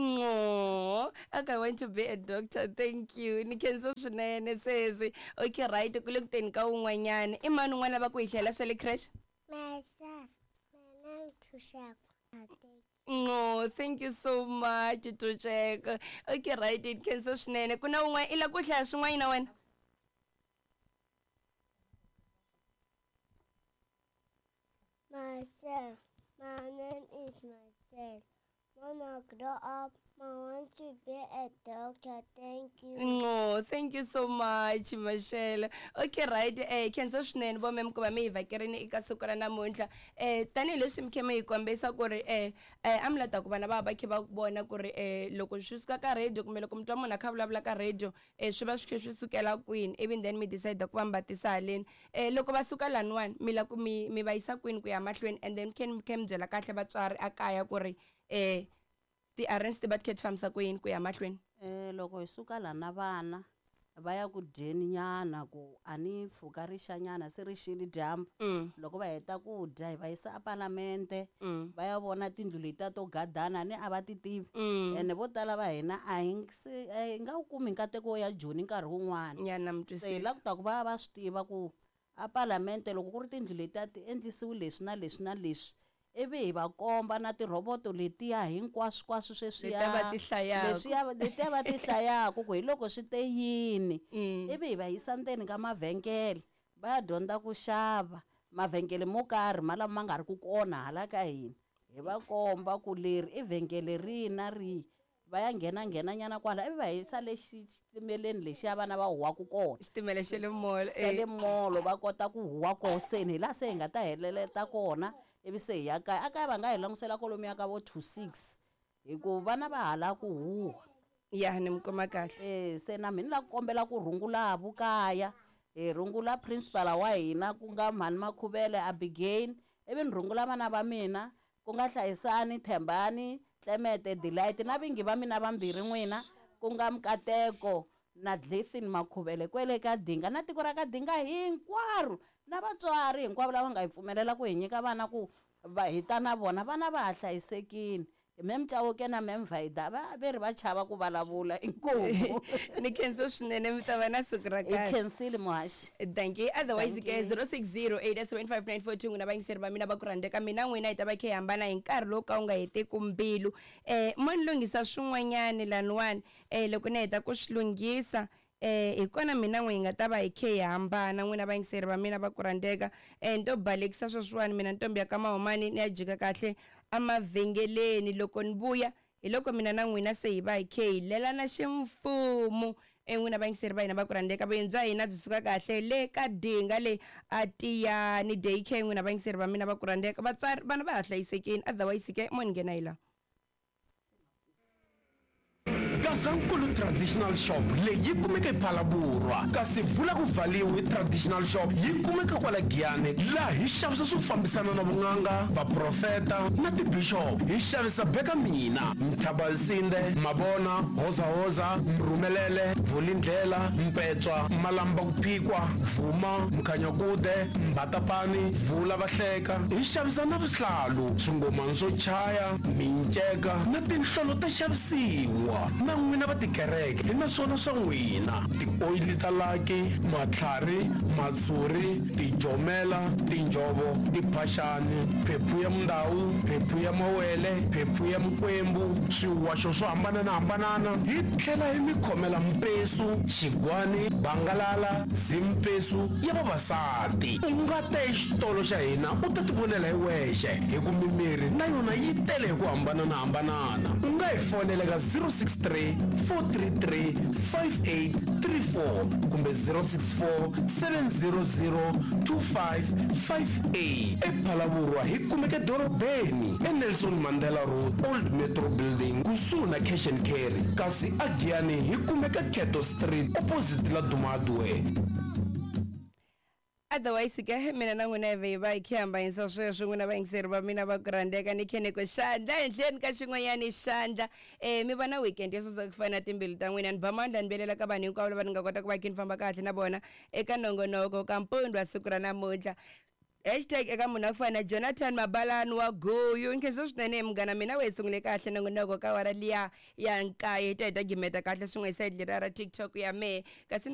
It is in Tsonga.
No, okay, I want to be a doctor. Thank you. Ni khensa swinene sesi. Okay, right, ku le ku teni ka un'wanyana. I mani un'wana va ku hi hlayela swa le creche? Myself, my name Tushako. No, thank you so much, Tusheko. Okay, right, ni khensa swinene. Ku na un'wana i la ku hlaya swin'wana na wena? Myself, my name is myself. When I grow up, I want to be a doctor. Thank you. No, thank you so much, Mashele. Okay, right. Khensa swinene vo mem ku va mi hi vhakerini eka siku ra namuntlha. Tanihileswi mi khe mi hi kombisa ku ri a mi la ta ku vana va va khe va vona ku ri loko swi suka ka radio kumbe loko mi twa munhu a kha a vulavula ka radio swi va swi khe swi sukela kwini ivi then mi decide ku va mi va tisa haleni. Loko va suka laniwani mi la ku mi mi va yisa kwini ku ya mahlweni and then mi khe mi byela kahle vatswari a kaya ku ri ti-arrange ti va ti khe ti fambisa ku yini ku ya mahlweni? Loko hi suka la na vana va ya ku dyeni nyana ku a ni pfuka ri xa nyana se ri xile dyambu. Loko va heta ku dya hi va yisa apalamente va ya vona tindlu letiya to gadana ni a va ti tivi. Ene vo tala va hina a hi se a hi nga wu kumi nkateko wo ya Joni nkarhi wun'wana. Ya na mi Se hi twisisa. la ku ta ku va va swi tiva ku a palamente loko ku ri tindlu letiya ti endlisiwi leswi na leswi na leswi ivi hi va komba na tirhoboto letiya hinkwaswokwaswo sweswiya Letiya va ti hlayaka. leswiya letiya va ti hlayaka ku hi loko swi te yini. Ivi hi va yisa ndzeni ka mavhengele va ya dyondza ku xava mavhengele mo karhi ma lama ma nga ri ku kona hala ka hina hi va komba ku leri i vhengele rihi na rihi va ya nghena nghena nyana kwala ivi va yisa le xitimeleni lexiya vana va huwaku kona Xitimela xa le mall, xa le mall va kota ku huwa koho se ni hi laha se hi nga ta heleleta kona ivi se hi ya kaya a kaya va nga hi langutisela kwalomuya ka vo 2 6 hi ku vana va hala ku huwa ya ni mi kuma kahle se na mina ni la ku kombela ku rhungula vukaya hi rhungula principal wa hina ku nga mhani Makhuvele Abigail ivi ni rhungula vana va mina ku nga Hlayisani Thembani Tlemete Delight na vingi va mina vambirhi n'wina ku nga Mkateko na Glithin Makhuvele kwele ka Dinga na tiko ra ka Dinga hinkwaro na vatswari hinkwavo lava nga hi pfumelela ku hi nyika vana ku va hi ta na vona vana va ha hlayisekile Mem Chauke na Mem Vaida va ve ri va chava ku vulavula inkomu ni khensa swinene mi ta va na siku ra hi kahle khensile muhaxi Thank you. Otherwise Thank ke you. 06087594 n'wina vayingiseri va mina va ku rhandzeka mina n'wina hi ta va khe hi hambana hi nkarhi lowu ka wu nga heteki mbilu mo ni lunghisa swin'wanyani laniwani loko ni heta ku swi lunghisa hi kona mina n'we hi nga ta va hi khe hi hambana n'wina vayingiseri va mina va ku rhandzeka ni to balekisa sweswiwani mina ntombi ya ka Mahumani ni ya jika kahle emavhengeleni loko ni vuya hi loko mina na n'wina se hi va hi khe hi lelana ximfumo n'wina vayingiseri va hina va ku rhandzeka vuyeni bya hina byi suka kahle le ka Dinga le a Tiyani day care n'wina vayingiseri va mina va ku rhandzeka vatswari vana va ha hlayisekini otherwise ke mo ni nghena hi laha Gazankulu Traditional Shop leyi yi kumeka ePhalaborwa kasi Vula ku Valiwe Traditional Shop yi kumeka kwala Giyani laha hi xavisa swo fambisana na vun'anga, vaprofeta na tibishop. Hi xavisa Beka Mina, Mthabansinde, Mabona, Hozahoza, Mrhumelele, Vulindlela, Mpetswa, Malamba ku Phikwa, Vuma, Mkhanyakude, Mbatapani, Vula Vahleka. Hi xavisa na vuhlalu, swingomani swo chaya, minceka na tinhlolo ta xavisiwa. Na n'wina va tikereke hi na swona swa n'wina, tioyili ta laki, matlhari, matshuri, tijomela, tinjhovo, tiphaxani, phephu ya mundawu, phephu ya mawele, phephu ya mikwembu, swiwaxo swo hambanana-hambanana. Hi tlhela hi mi khomela mpesu, xigwani, bangalala, zimpesu ya vavasati. U nga ta exitolo xa hina u ta tivonela hi wexe, hi ku mimiri na yona yi tele hi ku hambanana-hambanana. U nga hi fonela ka 063 433 5834 kumbe 064 700 2558. EPhalaborwa hi kumeka edorobeni eNelson Mandela Road, Old Metro Building, kusuhi na Cash and Carry, kasi aGiyani hi kumeka Cato Street opposite Laduma Hardware. Otherwise ke mina na n'wina hi ve hi va hi khe hambanyisa sweswo n'wina vayingiseri va mina va ku rhandzeka ni khe ni ku xandla ehenhleni ka xin'wanyani xandla mi va na weekend yo saseka ku fana na timbilu ta n'wina ni ba mandla ni velela ka vanhu hinkwavo lava ni nga kota ku va khe ni famba kahle na vona eka nongonoko ka mpundwa siku ra namuntlha. Hashtag eka munhu wa ku fana na Jonathan Mabalani wa Guyu. Nkhensa swinene munghana mina, we sungule kahle nongonoko ka wara liya ya nkaye, hi ta hi ta gimeta kahle swin'we hi side leriya ra TikTok ya mehe kasi.